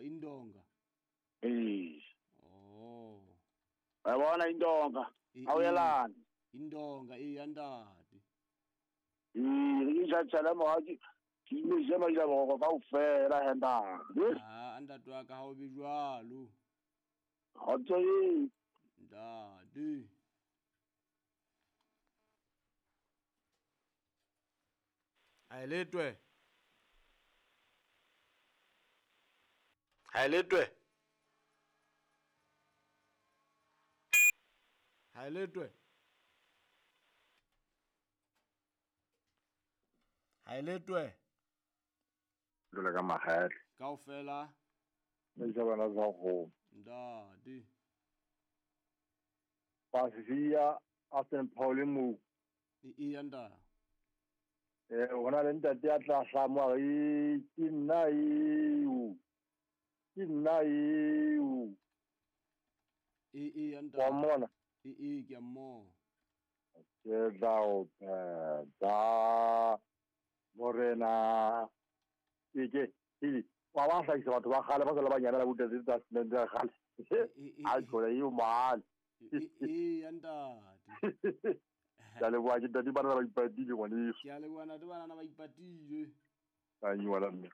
Indonga. Ee. Oh. Wa bona Indonga. E- A o yelane. Indonga e ya ntate. Ee, re ke tjhatjhale morao ke ke ile je ba ile boroko kaofela he ntate. Ha ntate wa ka ha o be jwalo. Kgotso e. Ntate. Haeletwe. Haeletwe. Haeletwe. Haeletwe. Dula ka makgetlo. Kaofela. Mme sa bana sa kgomo. Ntate. Pasifia a St. Paul mo. E ya ntate. Eh hona le ntate a tla hlamo a re ke nna eo. Ke nna eo. E ya ntate. Wa mmona? E ke a mmona. Ke tla o phetha morena. Ke wa ba hlahisa batho ba kgale ba sa le banyane la botate tsa cement ya kgale. A tjhole eo mahale. E ya ntate. Ke a leboha ke ntate bana ba ipatile ngwaneso. Ke a leboha ntate bana ba ipatile. A ngwana mme.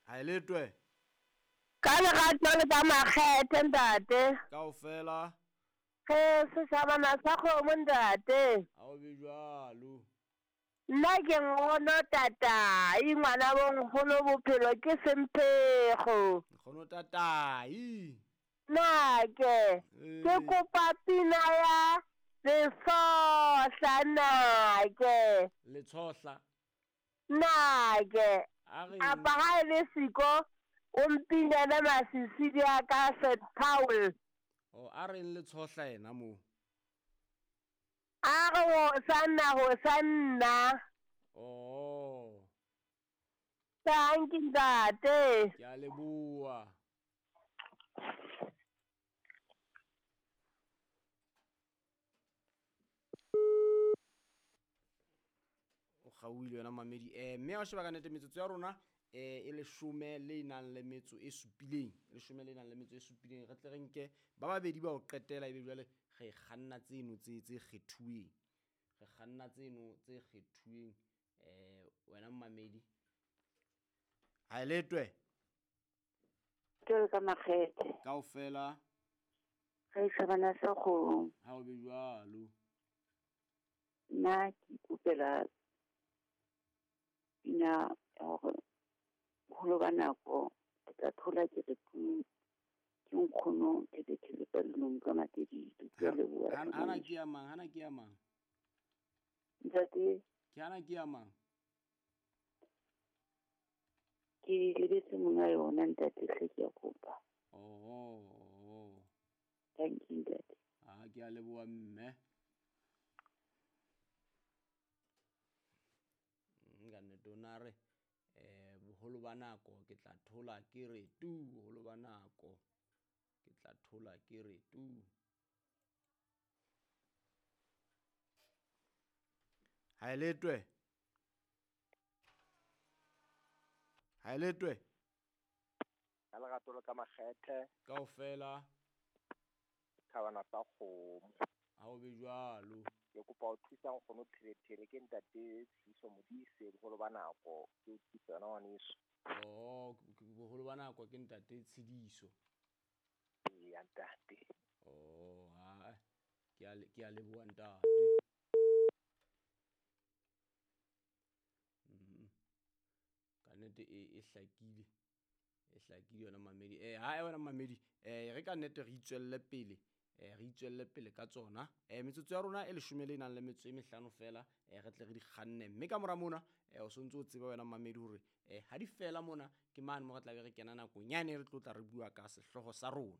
Haeletwe. Ka lerato le ka makgethe ntate. Kaofela. Ge seshabana sa kgomo ntate. Ha o be jwalo. Nna ke nkgono tatai ngwana bo nkgono bophelo ke semphego. Nkgono tatai. Nake ke kopa pina ya Letsohla nake. Letsohla. Nake. Apa ha e le siko o mpinele masisidi a ka St. Paul. O a reng Letsohla yena mo? A re hosanna hosanna. Oh. Thank you ntate. Ke a leboha. O kgaohile yona mamedi. Mme wa sheba ka nnete metsotso ya rona e leshome le nang le metso e supileng. Leshome le nang le metso e supileng. Re tle re nke ba babedi ba o qetela ebe jwale re kganna tseno tse kgethuweng. Re kganna tseno tse kgethuweng wena mamedi. Haeletwe. Ke ka makgethe. Kaofela. Re shabana sa kgomo. Ha o be jwalo. Nna ke ikopela pina ya hore boholo ba nako ke tla thola ke re ke nkgono ke thele ka lenong ka matedile. Ke a leboha. Hana ke ya mang? Hana ke ya mang? Ntate. Ke hana ke ya mang? Ke lebetse monga yona ntate hle ke a kopa. Oh. Thank you ntate. Ah ke a leboha mme. Nka nnete o na re boholo ba nako ke tla thola ke re tu, boholo ba nako ke tla thola ke re tu. Haeletwe. Haeletwe. Ka lerato le ka makgethe. Kaofela. Thabana sa kgomo. Ha o be jwalo. Ke kopa ho thusa nkgono Pherephere ke ntate Tshiso Modise boholo ba nako ke o thusa yona ngwaneso. Oh, boholo ba nako ke ntate Tshidiso. Ee, ntate. Oh, ha ke a leboha ntate. Ka nnete e hlakile. E hlakile yona mamedi. Ha wena mamedi, re ka nnete re itswelle pele. Re itswelle pele ka tsona. Metsotso ya rona e leshome le nang le metso e mehlano fela, re tle re di kganne. Mme ka mora mona, o sontse o tseba wena mamedi hore ha di fela mona ke mane mo re tla be re kena nakong yane re tlo tla re bua ka sehlooho sa rona.